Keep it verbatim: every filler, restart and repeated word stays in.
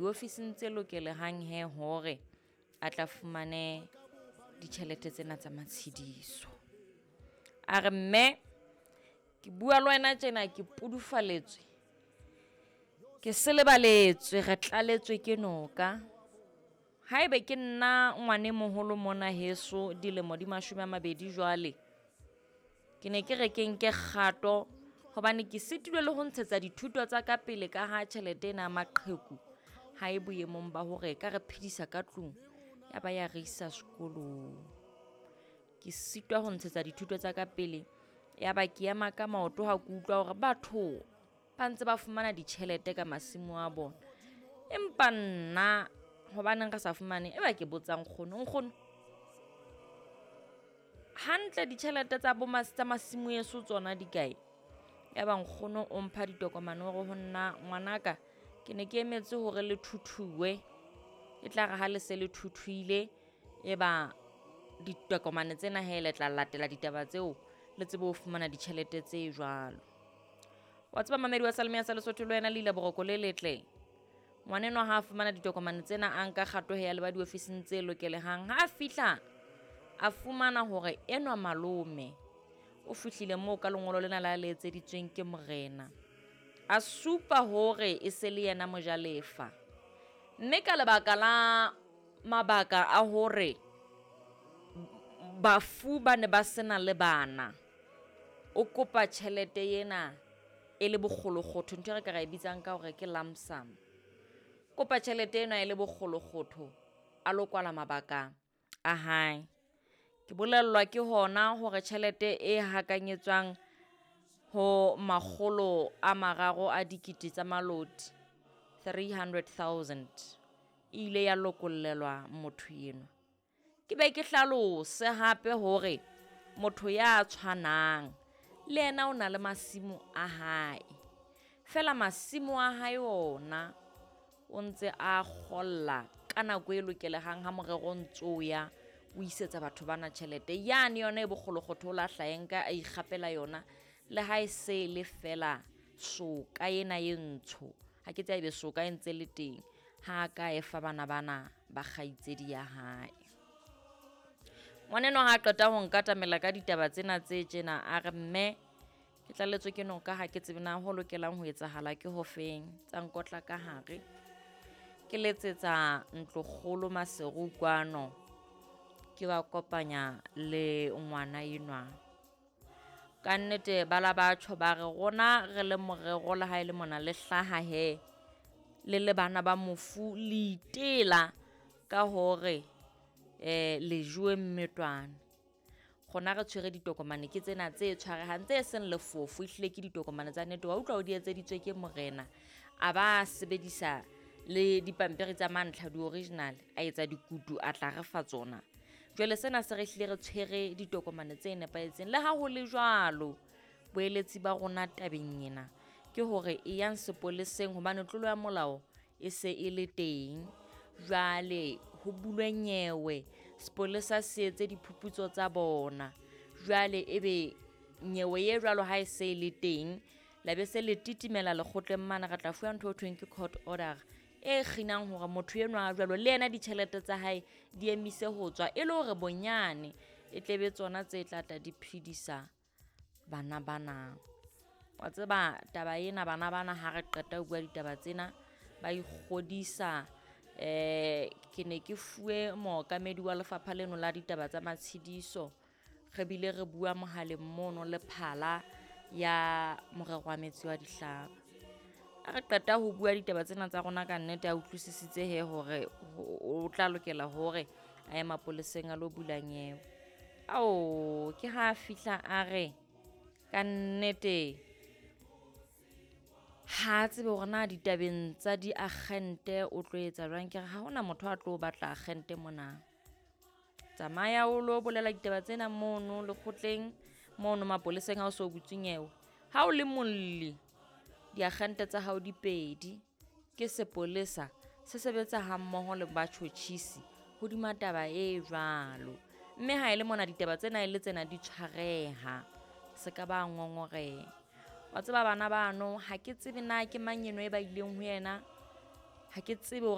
Diofising tse lokelehang he hore a tla fumane ditjhelete tsena tsa matshidiso. A re mme ke bua le wena tjena ke pudufaletswe, ke selebaletswe, re tlaletswe ke noka. Haebe ke nna ngwane moholo mona heso dilemo di mashome a mabedi jwale, ke ne ke re ke nke kgato hobane ke sitilwe le ho ntshetsa dithuto tsa ka pele ka ha tjhelete ena ya maqheku ha e boemong ba hore e ka re phedisa ka tlung ya ba ya re isa sekolong. Ke sitwa ho ntshetsa dithuto tsa ka pele, ya ba ke ema ka maoto ha ke utlwa hore batho ba ntse ba fumana ditjhelete ka masimo a bona. Empa nna hobaneng re sa fumane? E ba ke botsa nkgono, nkgono hantle ditjhelete tsa bo tsa masimo eso tsona di kae? Ya ba nkgono o mpha ditokomane hore ho nna ngwanaka ke ne ke emetse hore le thuthuwe, e tla re ha le se le thuthuile, e ba ditokomane tsena hee le tla latela ditaba tseo le tsebe ho fumana ditjhelete tse jwalo. Wa tseba mamedi wa Seyalemoya sa Lesotho le wena le ila boroko le letle. Ngwanenwa ha a fumana ditokomane tsena, a nka kgato ya leba diofising tse lokelehang. Ha a fihla a fumana hore enwa malome o fihlile moo ka lengolo lena la le etseditsweng ke morena. A supa hore e se le yena mojalefa, mme ka lebaka la mabaka a hore bafu ba ne ba sena le bana, o kopa tjhelete ena e le bokgolokgotho, ntho e re ka ra e bitsang ka hore ke lump sum. Kopa tjhelete ena e le bokgolokgotho a lo kwala mabaka a hae. Ke bolellwa ke hona hore tjhelete e hakanyetswang ho makgolo a mararo a dikete tsa maloti, three hundred thousand e ile ya lokollelwa motho enwa. Ke be ke hlalose hape hore motho ya tshwanang le yena o na le masimo a hae. Feela masimo a hae ona o ntse a kgolla ka nako e lokelehang ha morero o ntso ya o isetsa batho bana tjhelete. Yane yona e bokgolokgotho o la hla e nka a ikgapela yona le ha e se le fela soka ena e ntsho. Ha ke tsebe soka e ntse le teng, ha ka e fa bana bana ba kgaitsedi ya hae. Ngwanenwa ha qeta ho nkatamela ka ditaba tsena tse tjena, a re mme ke tlaletswe ke noka, ha ke tsebe na ho lokelang ho etsahala ke hofeng. Tsa nkotla ka hare, ke letsetsa ntlokgolo Maseru kwano, ke ba kopanya le ngwana enwa. Ka nnete ba la batjho ba re rona re le morero le ha e le mona le hlaha hee le le bana ba mofu, le itela ka hore eh le jowe mmetwane. Rona re tshwere ditokomane ke tsena tse tshwarehang tse seng lefofo, ehlile ke ditokomane tsa nnete. Wa utlwa o di etseditswe ke morena, a ba sebedisa le dipampiri tsa mantlha di-original, a etsa dikutu a tla re fa tsona. Jwale sena se re hlile re tshwere ditokomane tse nepahetseng. Le ha ho le jwalo, boeletsi ba rona tabeng ena ke hore e yang sepoleseng hobane tlolo ya molao e se e le teng. Jwale ho bulwe nyewe, sepolesa se etse diphuputso tsa bona. Jwale ebe nyewe e jwalo ha e se e le teng, la be se le titimela lekgotleng mane, re tla fuwa ntho e thweng ke court order e kginang hore motho enwa a jwalo le yena ditjhelete tsa hae di emise ho tswa, e le hore bonyane e tle be tsona tse tla tla di phedisa bana bana. Wa tseba taba ena, bana bana ha re qeta ho bua ditaba tsena ba ikgodisa. Eh ke ne ke fuwe mookamedi wa lefapha leno la ditaba tsa matshidiso, re bile re bua mohaleng mono le phala ya morero wa metsi wa dihlaba. Ha re qeta ho bua ditaba tsena tsa rona ka nnete a utlwisisitse hee hore o tla lokela hore a ye mapoleseng a lo bula nyewe. Ao, ke ha fihla a re ka nnete ha tsebe hore na ditabeng tsa diakgente o tlo etsa jwang. Ke re ha hona motho a tlo batla akgente mona. Tsamaya o lo bolela ditaba tsena mono lekgotleng, mono mapoleseng ha o so butse nyewe. Ha o le molli, diakgente tsa hao di pedi, ke sepolesa se sebetsa ha mmoho le batjhotjhisi hodima taba e jwalo. Mme ha e le mona ditaba tsena e le tsena di tshwareha, se ka ba ngongoreha. Wa tseba bana bano ha ke tsebe na ke mang eno e ba ileng ho yena, ha ke tsebe hore